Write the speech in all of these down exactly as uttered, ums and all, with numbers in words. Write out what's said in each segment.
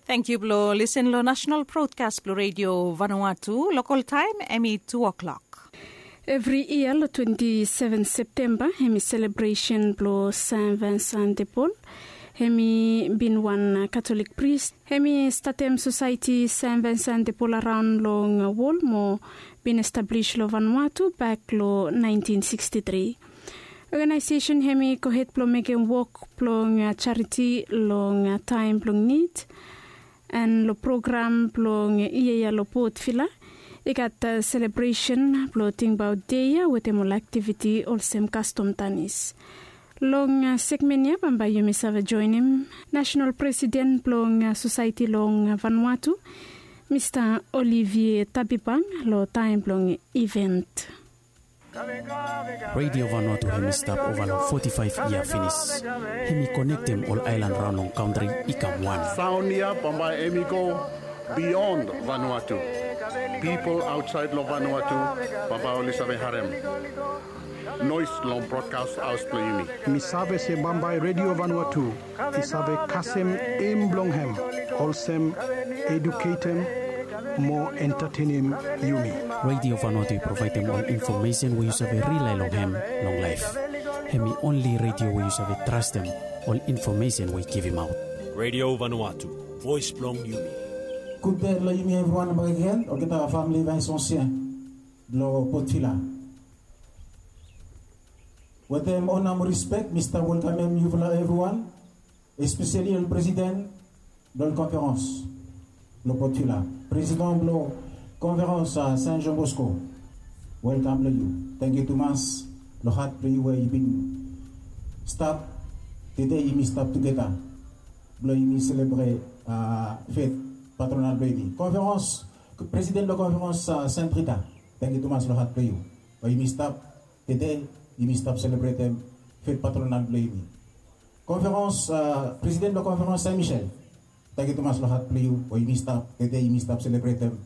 Tangkiu blong lisen long nasenal brodkas blong redio Vanuatu. Lokal taem hem i tu o'klok. Evri yia long twenti seven Septemba hem i selebresen blong San Vincent de Paul. Hem i bin wan Katolik pris. Hem i statem sosaeti San Vincent de Paul araon long wol mo bin establis long Vanuatu bak long naentin siksti tri. Oganaesesen hem i gohed blong mekem wok blong jariti long taem blong nid. An long program blong yia ya long Port Vila i gat selebresen blong tingbaot dei ya wetem ol aktiviti olsem kastom tanis. Long segmen ya bambae yumi save joenem nasenal presiden blong sosaeti long Vanuatu, Mista Olivier Tabibang, long taem blong iven. Redio Vanuatu hem i stap ova long foti faef yia finis. Hem i konektem ol aelan raon long kantri i kam wan. Saon ya bambae hem i go bion Vanuatu. Pipol aotsaed long Vanuatu bambae oli save harem noes long brodkas haos blong yumi. Mi save se bambae Redio Vanuatu i save kasem em blong hem olsem eduketem mo entatenem yumi. Redio Vanuatu i provaedem ol infomesen we yu save rilae long hem long laef. Hem i onli redio we yu save trastem ol infomesen we i givimaot. Redio Vanuatu, voes blong yumi. Gud dei long yumi evriwan bakegen, olgeta famili Vaesansien blong Port Vila. Wetem ona mo rispek mi stap welkamem yufala evriwan, espeseli ol presiden blong ol konferens blong Port Vila, presiden blong konferens San John Bosco. Welkam long yu. Tangkiu tumas long hat blong yu we yu bin stap tede yumi stap tugeta blong yumi selebret fet patronal blong yumi. Konferens, presiden blong konferens Sent Rita, tangkiu tumas long hat blong yu we yumi stap tede yumi stap selebretem fet patronal blong yumi. Konferens, presiden blong konferens Saint Michel, tangkiu tumas long hat blong yu we yumi stap tede yumi stap selebretem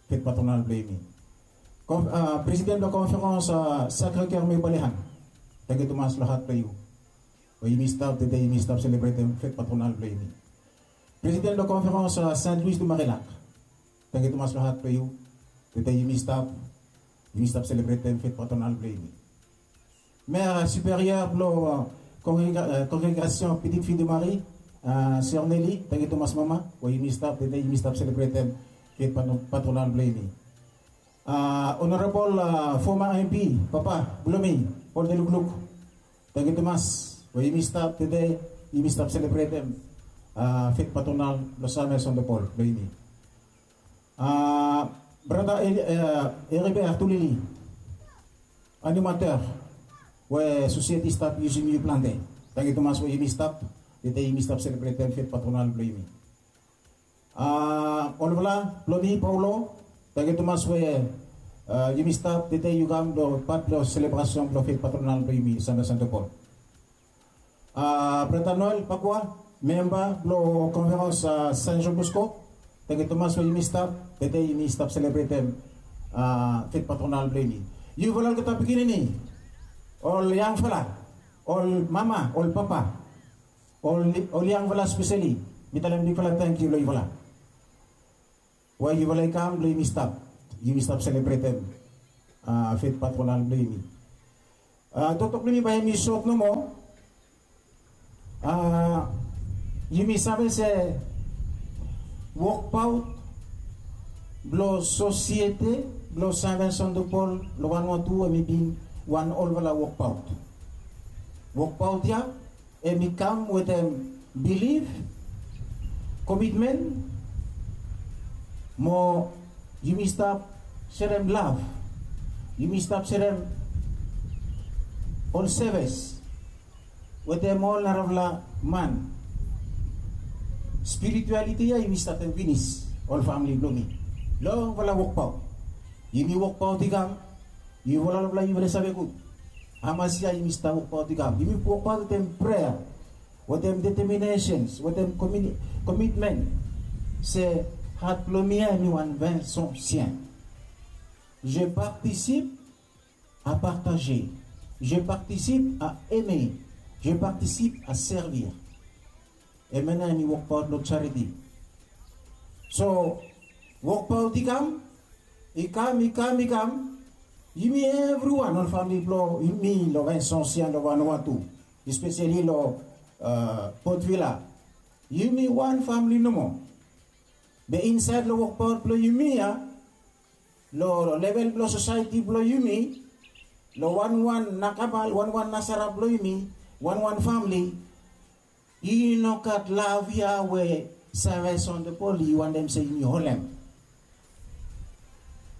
fet patronal blong yumi. Presiden blong konferens Sacre Cœur Mébalihan, tangkiu tumas long hat blong yu we yumi stap tede yumi stap selebretem fet patronal blong yumi. Presiden blong konferens Saint Louis du Marillac, tangkiu tumas long hat blong yu tede yumi stap yumi stap selebretem fet patronal blong yumi. Mer superior blong kongregasion Petite Fille de Marie, Sœur Nelly, tangkiu tumas mama we yumi stap tede yumi stap selebretem fet patronal blong yumi. Onorabol foma MP papa blong mi, Paul Delukluk, tangkiu tumas we yumi stap tede yumi stap selebretem fet patronal blong San Vincent de Paul blong yumi. Brata Heribert Tulili, animater we sosieti stap yusum yu plante, tangkiu tumas we yumi stap tede yumi stap selebretem fet patronal blong yumi. Olfala blong mi Paulo, tangkiu tumas we yumi stap tede yu kam long pat blong selebrasion blong fet patronal blong yumi San Vincent de Paul. Brata Noel Pakua, memba blong konferens San John Bosco, tangkiu tumas we yumi stap tede yumi stap selebretem fet patronal blong yumi. Yufala olgeta pikinini, ol yangfala, ol mama, ol papa, ol yangfala speseli, mi talem bigfala tangkiu long yufala we yufala i kam blong yumi stap yumi stap selebretem fet patronal blong yumi. Toktok blong yumi bae hem i sot nomo. Yumi save se wokbaot blong sosiete blong San Vincent de Paul long Vanuatu hem i bin wan olfala wokbaot. Wokbaot ya hem i kam wetem bilif, komitmen, mo yumi stap serem lav, yumi stap serem ol sevis wetem ol narafala man. Spiritualiti ya yumi statem finis ol famili blong mi. Longfala wokbaot yumi wokbaot i kam. Yufala olfala yufala i save gud hamas yia yumi stap wokbaot i kam. Yumi wokbaot wetem prea, wetem deteminesen, wetem komitmen se hat blong mi ya hem i wan Vaesansien. Je participe à partager. Je participe à aimer. Je participe à servir. Hemia nao hem i wokbaot long jariti. So wokbaot i kam, i kam i kam i kam. Yumi evriwan ol famili blong yumi long Vincennes ya long Vanuatu, espeseli long Port Vila, yumi wan famili nomo. Be insaed long wokbaot blong yumi ya, long level blong sosaeti blong yumi, long wanwan nakabal, wanwan nasara blong yumi, wanwan famili, i no gat lav ya we Saint Vincent de Paul i wantem se yumi holem.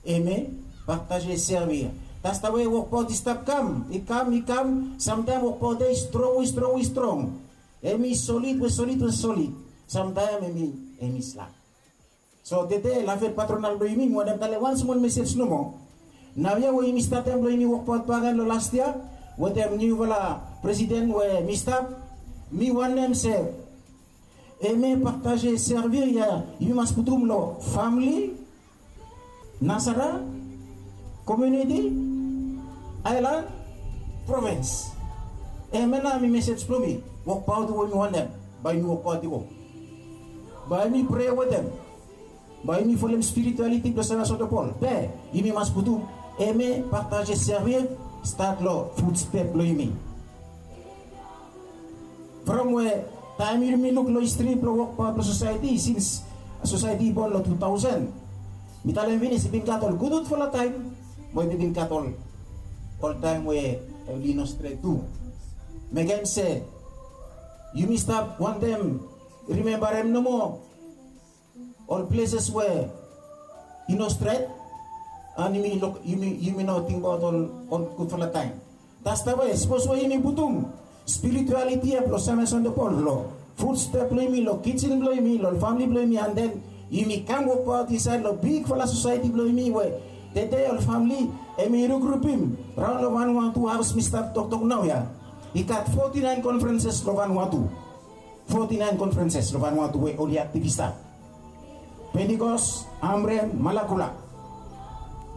Amen. Partaje, servir. Tasta we wokbaot i stap kam, i kam i kam. Samtaem wokbaot ya i strong, i strong, i strong. Hem i solid we solid we solid. Samtaem hem i slak. So tede la fet patronal blong yumi, mi wantem talem wan smol mesej nomo. Naoia we yumi statem blong yumi wokbaot bakegen long las yia wetem niufala presiden we mi stap, mi wantem se, eme, partaje, servir ya yumi mas putum long famili, nasara, komuniti, aelan, provins. Eme nao mi mesej blong mi. Wokbaot we mi wantem, bae yumi wokbaot i go. Bae yumi prea wetem. Bae yumi folem spiritualiti blong Saint Vincent de Paul. Be yumi mas putum, eme, partaje, servir, stat long futstep blong yumi. From we taem yumi luk long histri blong wokbaot blong sosaeti, sins sosaeti i bon long tu taosen, mi talem finis, i bin gat ol gudgudfala taem, mo i bin gat ol taem we oli no stret tu. Mekem se yumi stap wantem rimembarem nomo ol pleses we i no stret, an yumi no tingbaot ol gudfala taem. Tasta we sapos we yumi putum spiritualiti ya blong Saint Vincent de Paul long futstep blong yumi, long kijen blong yumi, long famili blong yumi, an den yumi kam wokbaot insaed long bigfala sosaeti blong yumi we tede ol famili hem i rukrupim raon long Vanuatu, haos mi stap toktok naoia. I gat foti naen konferenses long Vanuatu. Foti naen konferenses long Vanuatu we oli aktiv i stap. Pentikos, Amrem, Malakula.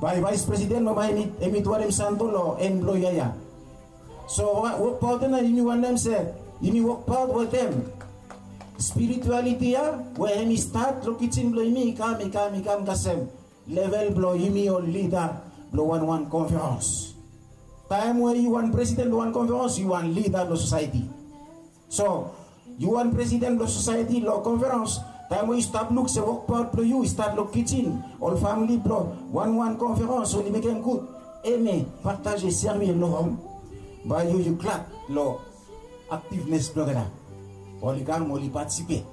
Bae vaes presiden bambae hem i tuarem santo long en blong yia ya. So wokbaot ya nao yumi wantem se yumi wokbaot wetem spiritualiti ya we hem i stat long kijen blong yumi, i kam i kam i kam kasem level blong yumi ol lida blong wanwan konferens. Taem we yu wan presiden blong wan konferens, yu wan lida blong sosaeti. So yu wan presiden blong sosaeti long konferens, taem we yu stap luk se wokbaot blong yu i stat long kijen, ol famili blong wanwan konferens oli mekem gud, eme, partaje, servir long hom, bae yu yu glad long aktivnes blong olgeta. Oli kam, oli patisipet,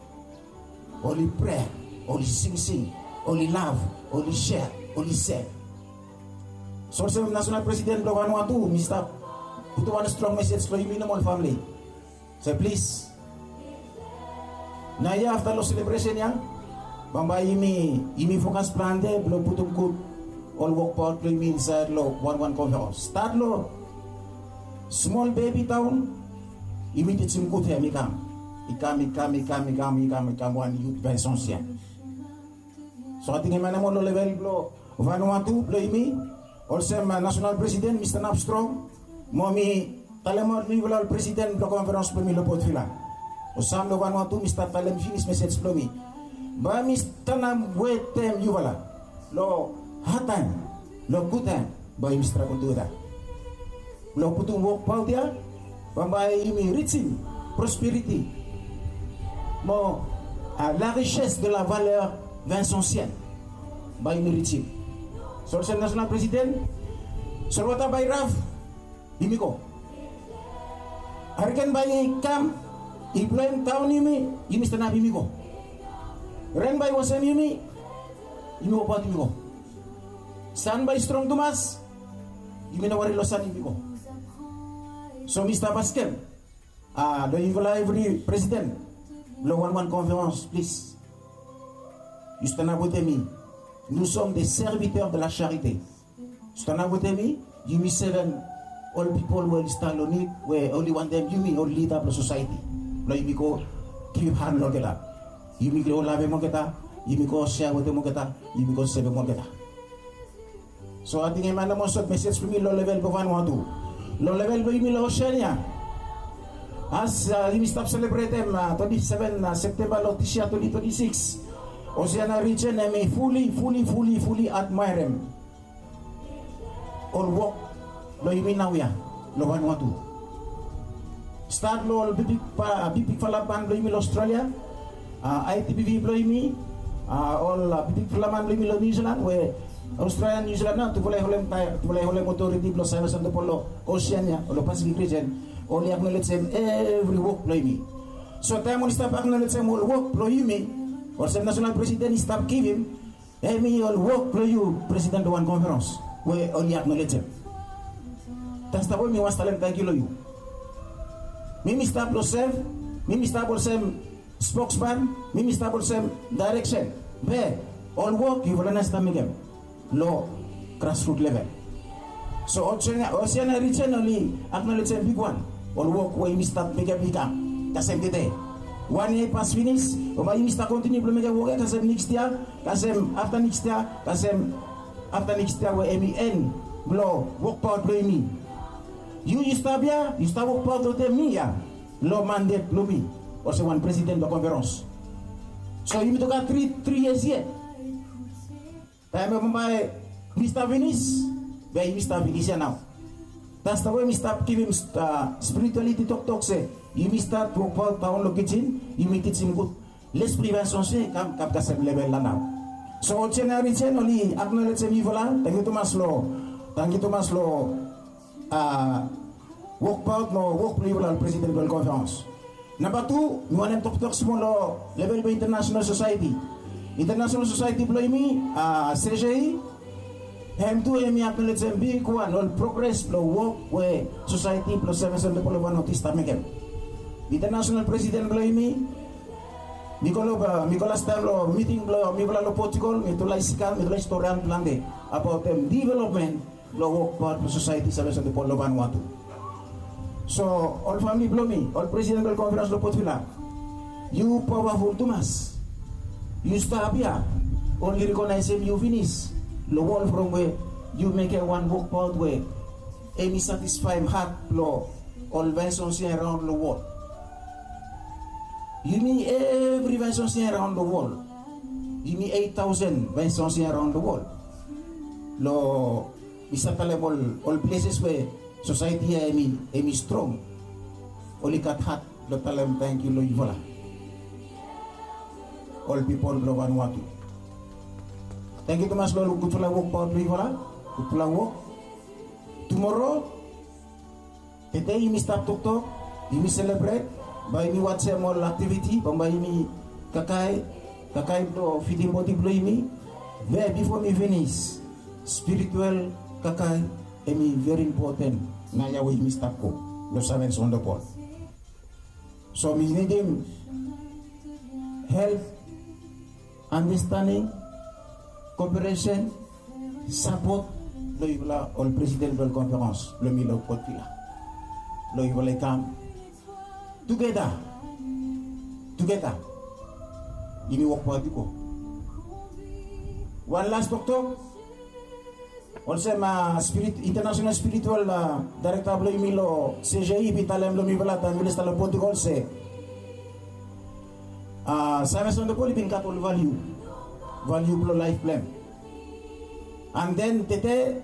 oli prea, oli singsing, oli lav, oli sea, oli sev. So olsem nasonal presiden blong Vanuatu, mi stap putum wan strong mesej long yumi nomo ol famili. Se plis, naoia afta long selebresen ya, bambae yumi fokas plante blong putum gud ol wokbaot blong yumi insaed long wanwan konferens. Stat long smol bebi taon, yumi tijim gud hem i kam, i kam i kam i kam i kam i kam i kam wan yut Vincennes ya. So ating hem ya nomo long level blong Vanuatu blong yumi, olsem nasonal presiden mi stanap strong mo mi talemaot niufala ol presiden blong konferens blong mi long Port Vila, o sam long Vanuatu, mi stap talem finis mesej blong mi. Bae mi stanap wetem yufala long hadtaem, long gudtaem, bae yumi stragol tugeta blong putum wokbaot ya, bambae yumi rijim prosperiti mo la richesse de la valeur vincencienne. Bae yumi rijim. So olsem nasonal presiden, solwota bae i raf, yumi go. Hariken bae i kam, i bloem daon yumi, yumi stanap, yumi go. Ren bae i wasem yumi, yumi wokbaot, yumi go. San bae i strong tumas, yumi no wari long san, yumi go. So mi stap askem long yufala evri presiden blong wanwan konferens, plis, yu stanap wetem mi. Nous sommes des serviteurs de la charité. Stanap wetem mi, yumi sevem ol pipol we oli stap long nid, we oli wantem yumi ol lida blong sosaeti blong yumi go givhan long olgeta. Yumi go lavem olgeta, yumi go sea wetem olgeta, yumi go sevem olgeta. So ating hem ya nomo sot mesej blong mi long level blong Vanuatu. Long level blong yumi long Oseania, as yumi stap selebretem twenti seven Septemba long dis yia twenti twenti sikis, Oseania rijen hemi fuli fuli fuli fuli admaerem ol wok blong yumi naoia long Vanuatu. Stat long ol bigbigfala ban blong yumi long Australia, ITBV blong yumi, ol bigbigfala man blong yumi long New Zealand we Australia, New Zealand nao tufala i holem otoriti blong Saemas on de Pol long Oseania o long Pasifik rijen. Oli aknolejem evri wok blong yumi. So taem oli stap aknolejem ol wok blong yumi, olsem nasonal presiden i stap givim, hemi ol wok blong yu presiden blong wan konferens we oli aknolejem. Tastam we mi wan talem tangkiu long yu. Mi mi stap long sef, mi mi stap olsem spoksman, mi mi stap olsem daereksen. Be ol wok yufala nao i stap mekem long grasrut level. So Oseania rijen oli aknolejem bigwan ol wok we yumi stap mekem i kam kasem tede. Wan yia i pas finis, bambae yumi stap kontiniu blong mekem wok ya kasem next yia, kasem afta next yia, kasem afta next yia we hemi en blong wokbaot blong yumi. Yu yu stap ya, yu stap wokbaot wetem mi ya long mandet blong mi olsem wan presiden blong konferens. So yumi tok gat tri tri yias yet. Taem we bambae mi stap finis, be yumi stap finis ya nao. Tastam we mi stap givim spiritualiti toktok se yumi stat wokbaot daon long kijen, yumi tijim gud. Les blong yu Vaeson se i kam kam kasem level ya nao. So ol jeneresen oli aknolejem yufala. Tangkiu tumas long, tangkiu tumas long wokbaot mo wok blong yufala ol presiden blong ol konferens. Namba tu, mi wantem toktok smol long level blong internasenal sosaeti. Internasenal sosaeti blong yumi, CJE, hem tu hemi aknolejem bigwan ol progres blong wok we sosaeti blong Seven Sunday blong Vanuatu i stap mekem. Internasenal presiden blong yumi, mi go long, mi go lastaem long miting blong mifala long Portugal, mi tu laik sikan, mi tu laik storian plante abaot hem developmen blong wokbaot blong sosaeti Seven Sunday blong Vanuatu. So ol famili blong mi, ol presiden blong konferens long Port Vila, yu pawaful tumas. Yu stap ya, oli rekonaesem yu finis long wol from we yu mekem wan wokbaot we hemi satisfaem hat blong ol Vaeson se raon long wol. Yumi evri Vaeson se raon long wol. Yumi eit taosen Vaeson se raon long wol. Long mi save talem ol, ol pleses we sosaeti ya hemi, hemi strong. Oli gat hat blong talem tangkiu long yufala, ol pipol blong Vanuatu. Tangkiu tumas long ol gudfala wokbaot blong yufala. Gudfala wok. Tumoro, tede yumi stap toktok, yumi selebret, bae yumi wajem ol aktiviti, bambae yumi kakae, kakae blong fidim bodi blong yumi. Be bifo mi finis, spiritual kakae hemi veri impoten naoia we yumi stap go long Seven Sunday blong. So mi nidim help, andastending, koperesen, sapot blong yufala ol presiden blong ol konferens blong mi long Port Vila, blong yufala i kam tugeta, tugeta yumi wokbaot i go. Wan las toktok, olsem internasenal spiritual daerekta blong yumi long CJE i bin talem long mifala taem mifala i stap long Portugal se Seven Sunday blong Vanuatu i bin gat ol valiu, valiu blong laef blong hem. And then tede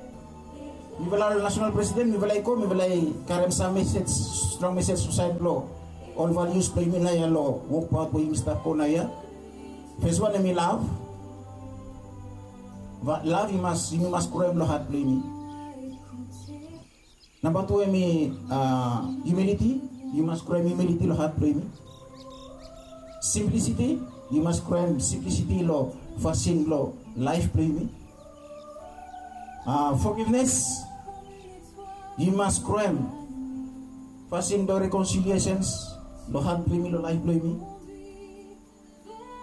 mifala ol nasonal presiden, mifala i go, mifala i karem sam mesej, strong mesej long saed blong ol valius blong yumi naoia long wokbaot we yumi stap go naoia. Fes wan hemi lav. Lav i mas, yumi mas groem long hat blong yumi. Namba tu hemi humiliti. Yu mas groem humiliti long hat blong yumi. Simplisiti. Yu mas groem simplisiti long fasin blong laef blong yumi. Fogivnes. Yu mas groem fasin blong rekonsiliesens long hat blong yumi, long laef blong yumi.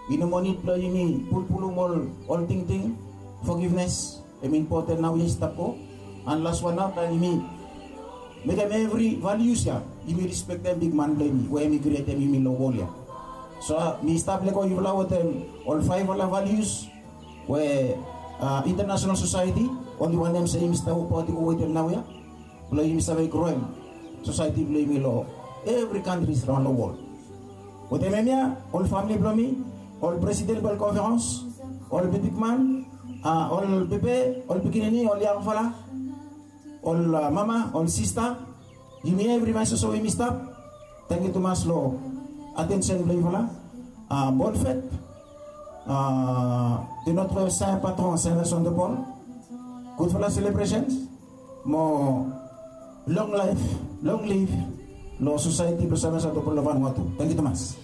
I no moa nid blong yumi pulpulum ol, ol tingting. Fogivnes hemi impoten naoia i stap go. And las wan nao, taem yumi mekem evri valius ya, yumi rispektem bigman blong yumi we hemi krietem yumi long wol ya. So mi stap lego yufala wetem ol faefala valius we internasenal sosaeti oli wantem se yumi stap wokbaot i go wetem naoia, blong yumi save groem sosaeti blong yumi long evri kantris raon long wol. Wetem hemia, ol famili blong mi, ol president blong ol konferens, ol bibikman, ol bebe, ol pikinini, ol yangfala, ol mama, ol sista, yumi evriwan soso yumi stap. Tangkiu tumas long atensen blong yufala. Bonfet de notre saint patron saint Vincent de Paul. Gudfala celebrations mo long laif, long liv long sosaeti blong saint Vincent de Paul long Vanuatu. Tangkiu tumas.